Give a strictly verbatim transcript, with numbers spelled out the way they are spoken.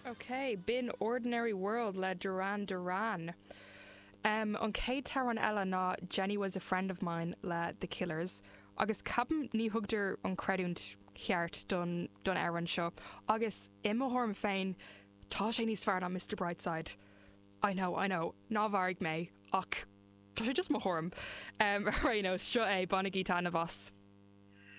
Ok, b'in Ordinary World le Duran Duran. Um, an chéad amhrán eile ná Jenny was a friend of mine le The Killers, agus ceapaim ní thugtar an creidiúint cheart don don amhrán seo, agus i mo thuairim féin tá sé níos fearr ná Mr Brightside. I know, I know, ná mharaigh mé ach tá sé just mo thuairim. Um, Réno seo é bainigí taitneamh as.